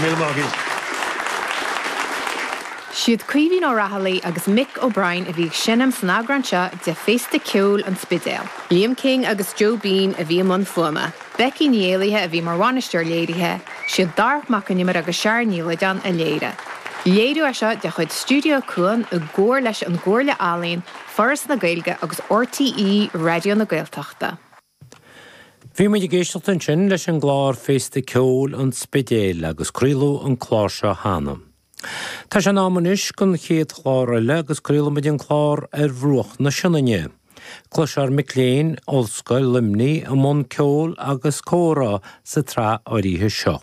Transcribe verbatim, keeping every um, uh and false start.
Míle maith. Siad Caoimhín Ó Raghallaigh agus Mick O'Brien a bhí ag seinm san eagrán seo de Féasta Ceoil an Spidéil. Liam King agus Joe Bean a bhí i mbun fuaime. Becky Ní Éalaithe a bhí mar bhainisteoir léirithe, siad Darach Mac Con Iomaire agus Sharon Ní Loideáin a léirigh. Léiriú é seo de chuid Stiúideo Cuan i gcomhar leis an gComhairle Ealaíon, Foras na Gaeilge agus RTÉ Raidió na Gaeltachta. Bhí muid ag éisteacht ansin leis an gclár Féasta Ceoil an Spidéil agus craoladh an clár seo cheana. Tá sé in am anois don chéad chlár eile agus craolfaimid an clár ar bhruach na Sionainne. Cloisfear mic léinn Ollscoil Luimnigh i mbun ceoil agus comhrá sa tsraith áirithe seo.